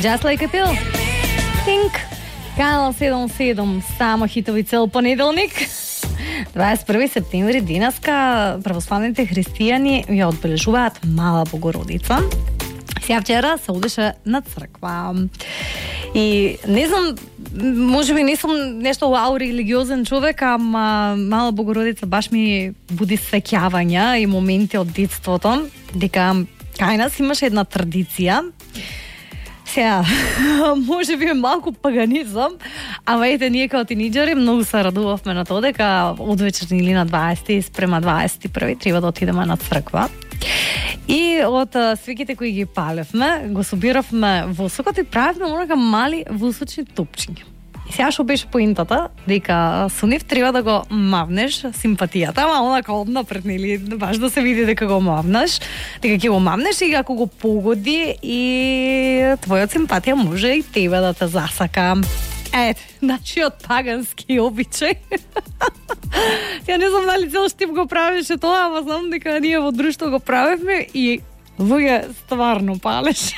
Just Like a Pill. Think. Канал 77, само хитови цел понеделник. 21 септември денеска православните христијани ја одбележуваат Мала Богородица. Сега вчера се одеше на црква. И не знам, може би не сум нешто вау религиозен човек, ама Мала Богородица баш ми буди сеќавања и моменти од детството, дека кај нас имаше една традиција. Сега, може би малку паганизам, ама ете, ние као тинеџери многу се радувавме на тоа дека од вечерни или на 20 спрема 21 треба да отидеме на црква. И од свеките кои ги палевме, го собиравме восокот и правевме онака мали восочни топчиња. И сега што беше поинтата, дека со нив треба да го мавнеш симпатијата, ама онака однапред, нели, баш да се види дека го мавнеш, дека ќе го мавнеш и ако го погоди и твојот симпатија може и тебе да те засака. Ете, начиот пагански обичај. Ја не знам дали цел Штип го правеше тоа, ама знам дека ние во друштво го правевме и луѓе стварно палеше.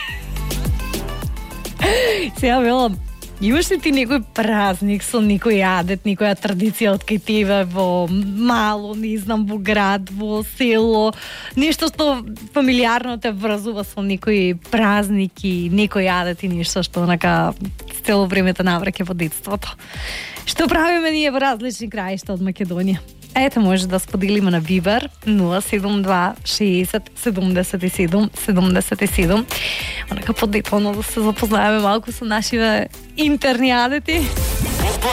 Сега велам, имаш ли ти некој празник со некој адет, некоја традиција од кај тебе во мало, не знам, во град, во село, нешто што фамилиарно те врзува со некој празник и некој адет и нешто што онака цело време те навраќа во детството? Што правиме ние во различни краишта од Македонија? Ете, може да споделиме на Viber 072 60 77 77. Онака подетално да се запознаеме малку со нашиве интерни адети.